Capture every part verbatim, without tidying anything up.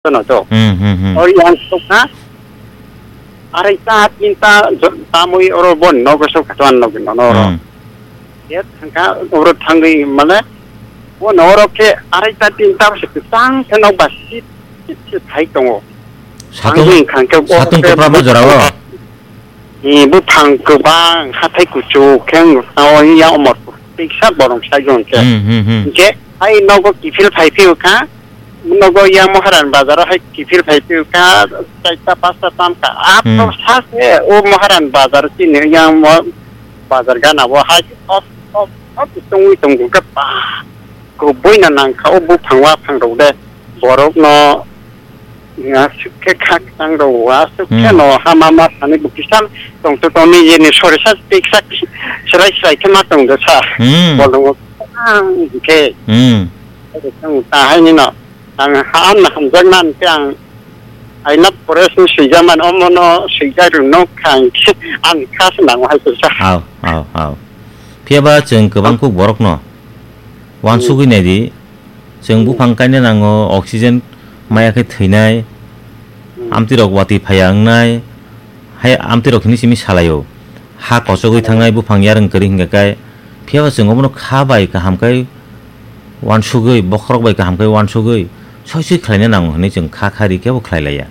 Tono to. Hmm, hmm, hmm. Ori ang sokha. Arai ta tinta jo-, tamoi oro bon nogo sokha to an nogo no oro. Hmm. Ye thangka oro thangwi mane, o no oro khe arai ta tinta se tang se no ba sit sit se thai tongo. Satung, Ang hwn khang khe o satung khe kopra bo jorao. Ni buphang kwbang, hathai kuchuk khe wng tao ya Omorpur. Tiksa borok sai jong khe. Hmm, hmm, hmm. Hingkhe hai nogo kiphil phai phiyokha, nogo ya Moharan bazar hai kiphil phai phiyokha, chaita pasta tamkha. Aphro Hmm. sa se o Moharan bazar chini ya mo bazar gana bo hai top, top, top tongwi tongkha pa. Kubui na nangkha o buphang waphang rok de. Borok no Aswk khe khakchang rw o, aswk khe Hmm. no hama ma thani bo kisa tong to tong ni ye ni sori sa tik sak serai serai khe ma tong do sa. Hmm. Bolong o ang khe. Hmm. Ang ta hai ni no. Ang ha am na hamjak man khe ang aina pore swijak man omo no swijak rw no khang khe ang kha se nang hai sa. Hao, hao, hao. Phiya ba chwng kwbang kuk borok no. Wansugwi naidi, chwng buphang kaina nango, oxygen maya khe thwinai, amtwirok watwi phaiya wngnai, hai amtwirok hini simi salaio. Ha kochogwi thangnai, buphang yarwng kwrwi hwnkhe kai, phiyaba chwng obono kha bai kaham khe wansugwi, bokhorok bai kaham khe wansugwi, soi soi khlaina nango hwnwi chwng kha kha ri khe bo khlai laiya.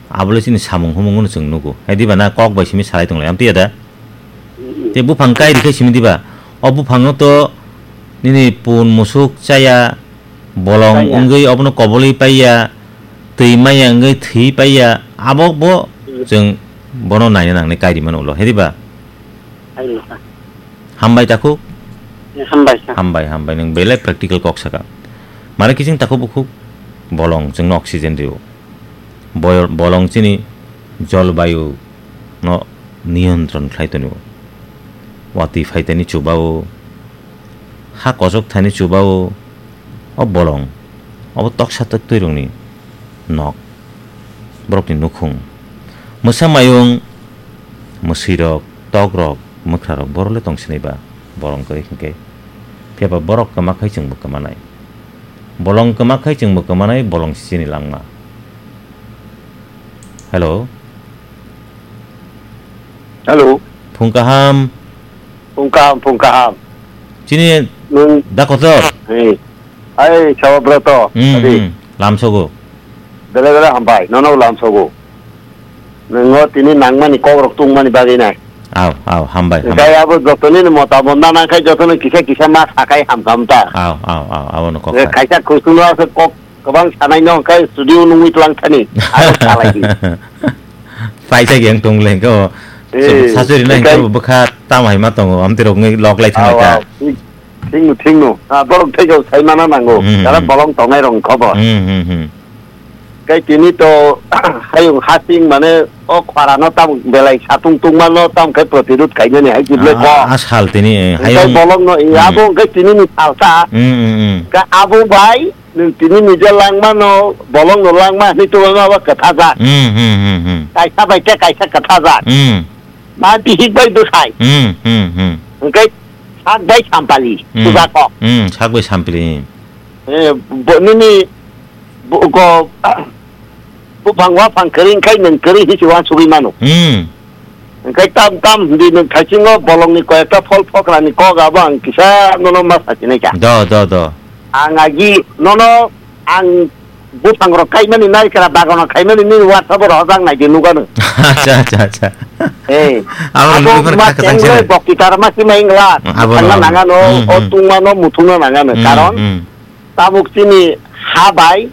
Abole chini samung humung no chwng nugo. Hai diba na kok bai simi salai tonglai, amtwi ya da? Tei buphang kai rikhe simi diba? O buphang no to nini pun musuk chaya, bolong Chaya. Wngwi obono kobolwi paiya, twi maya wngwi thwi paiya, abo bo chwng bono naina nangnai kai rimano ulo, hai diba? Hai wngkha. Hambai takhuk? Hambai kha. Hambai, hambai, nwng belai practical kok saka. Mare kiching takhuk bukhuk bolong chwngno oxygen rio. Boyo-, bolong chini jolbayu no niyontron khlai tonio. Watwi phaitani chubao, ha kochok thani chubao, o bolong, obo toksa toktwi rokni nok, borokni nukhung. Mwsa mayung, mwswirok, tokrok, mwkhrarok, borok le tong sinai ba, bolong kwrwi hwnkhe. Phiya ba borok kwma khai chwngbo kwmanai. Bolong kwma khai chwngbo kwmanai, bolong si chini langma. Hello. Hello. Phung kaham. Phung kaham, phung kaham. Chini Nwng da kotor. Hey. Hai, Sababroto. Hmm, Adi. Hmm. Lamsogo. Bele bele hambai, nono lamsogo. Nwngo tini nangmani kokrok tungmani bagwi nai. Aw, aw, hambai, hambai. Tei abo jotoni ni motamot na nangkhai jotoni kisa kisa ma sakai hamkam ta. Aw, aw, aw, abono kok Eh, kha. Kaisa kusungno ase kok kwbang sanai no hwnkhe studio nungwi tlang thani. Abo salai di. Paisa geng tong le ko. Eh, sasuri nai hwnkhe ko bwkha tam hai ma tongo, amtwi rok ngai lok lai thang Aw, ka. Aw. Thik, thikno, thikno. Ah, borok thaigo sai mana nango. Hmm, Kara hmm. Bolong tongnai rok khobor. Hmm, hmm, hmm. Kai tini to hayung hasing mane o khwarano tam belai satung tungmano tam khe protirud khainani hai kible Ah, ko. A sal tini, eh, Kai hayung. Bolong no, Hmm. Abo kai tini ni salsa. Hmm, hmm, hmm. Ka abo bai Nwng tini nije langmano, bolongno langma hwnwi tongma abo kwthajak. Hmm, hmm, hmm, hmm. Kaisa bai khe kaisa kwthajak. Hmm. Ma bihik bai bwsai. Hmm, hmm, hmm. Hwnkhe sak bai sampali, Hmm. Puja kok. Hmm, sak bai sampali. Eh, bo-, nini bo-, go-, Buphang waphang kwrwi wngkhai nwng kwrwi hinwi se uansugwi mano. Hmm. Hwnkhe tam tam hwnwi nwng thaisingo bolongni koyekta phol phokrani kok abo ang kisa nono ma sachinai kha. Do, do, do. Ang agi nono ang buphang rok kaimani naikra bagano khaimani nini WhatsApp-o rohorjak naidi nukha nwng. Acha, acha, acha. Hey, abo abo nukha ma kha kha tengle changse. Bokti tarma sima ingla. Abo thangna no. Nangano, Hmm, o hmm. Tungmano, muthungno nangano. Hmm, karon hmm. Tabuk chini ha bai,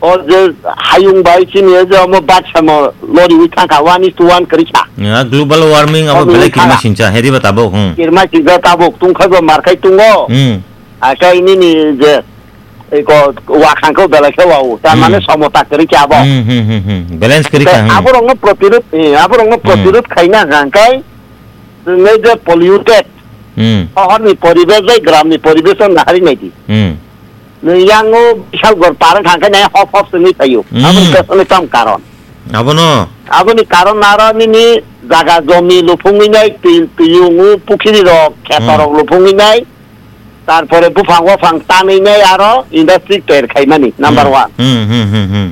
o je hayung bai chini o je omo baksa no loriwi thangkha, one is to one kwrwi kha. Ya, global warming abo belai kirma sincha, hedi ba tabuk, hmm. Kirma sincha tabuk, tungkhai bo markhai tungo. Hmm. Akai nini je, eko, wakhang khe belai khe wao, tar mane Hmm. Somota kwrwi kha abo. Hmm, hmm, hmm, hmm. Balance kwrwi kha, hmm. Aborokno protirud, eh, aborokno Hmm. Protirud khaina hwnkha hwnkhe, chwngno je polluted, Hmm. Sohorni poribesh bai gramni poribesh no nahari naidi. Hmm. Nwng yango Bishalgarh par wngkha hwnkhe nai hop hop se wngwi phaio. Hmm. Aboni kaisa tam karon. Abono? Aboni karon aro nini jaga jomi luphungwi nai, twi, twiyungo pukhiri rok, kheto Hmm. Rok luphungwi nai, tarpore buphang waphang tanwi nai aro industry toyer khaimani, number Hmm. One. Hmm, hmm, hmm, hmm.